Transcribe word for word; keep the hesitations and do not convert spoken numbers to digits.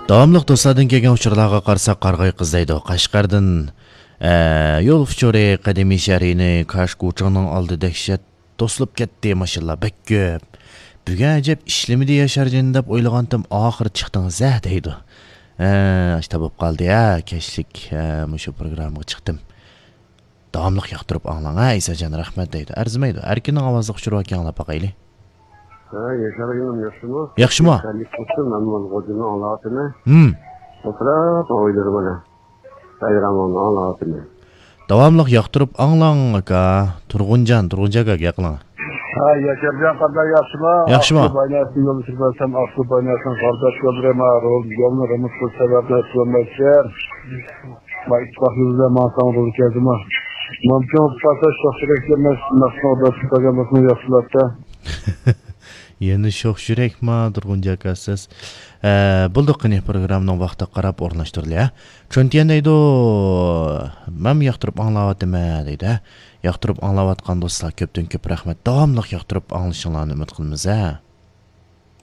داۋاملىق دوستلاردىن كەلگەن ئۇچۇرلارغا قارىساق، قارىغاي قىز دەيدۇ، قەشقەردىن. ئە، يول ئۇچۇرى، قەدىمىي شەھىرىنى، كاشكۇچىڭنىڭ ئالدى دەھشەت توسۇلۇپ كەتتى، ماشىنىلار بەك كۆپ. بۈگۈن ئەجەب ئىشلىمىدى ياشارجان دەپ ئويلىغانتىم، ئاخىرى چىقتىڭىز ھە دەيدۇ. ئە، ئاشتا بولۇپ قالدى ھە، كەچلىك، ئە، مۇشۇ پروگراممىغا چىقتىم. داۋاملىق ياقتۇرۇپ ئاڭلاڭ ھە، ئەيساجان، رەھمەت دەيدۇ. ئەرزىمەيدۇ. ئەركىننىڭ ئاۋازلىق ئۇچۇرى باركەن، ئاڭلاپ باقايلى. ھە، ياشار ئىنىم، ياخشىمۇ؟ ياخشىمۇ؟ خەيرلىك بولسۇن، مەن مانا غوجىنى ئاڭلاۋاتىمەن. ھىم. ئولتۇرۇپ ئويلىرىم مانا. بايرامىڭنى ئاڭلاۋاتىمەن. داۋاملىق ياقتۇرۇپ ئاڭلاڭ، ئاكا. تۇرغۇنجان، تۇرغۇنجان ئاكا، گەپ قىلىڭ. ھە، ياشارجان، قانداق، ياخشىمۇ؟ ياخشىمۇ؟ ئاقسۇ بايناسىنى يولدىشىپ بەرسەم، ئاقسۇ بايناسىنىڭ قارداش يوللىرى ما، رول، يولنى رېمونت قىلىش سەۋەبىدىن ئۆتۈۋالمايتتى. ما ئىتتىپاقلىق بىلەن ماڭساڭ رول كەلدىمۇ؟ مۇمكىن بولۇپ قالسا، شوخ يۈرەكلىرىمىز مەخسۇس ئورداش قىلغان بولسىمۇ ياخشى بولاتتى. يەنە شوخ يۈرەكما، تۇرغۇنجان ئاكا سىز؟ ئە، بولدى، قېنى، پروگراممىنىڭ ۋاقتىغا قاراپ ئورۇنلاشتۇرۇلى، ھە؟ چۈنتيەن دەيدۇ، مەنمۇ ياقتۇرۇپ ئاڭلاۋاتىمەن دەيدۇ، ھە؟ ياقتۇرۇپ ئاڭلاۋاتقان دوستلار، كۆپتىن كۆپ رەھمەت. داۋاملىق ياقتۇرۇپ ئاڭلىشىڭلارنى ئۈمىد قىلىمىز، ھە؟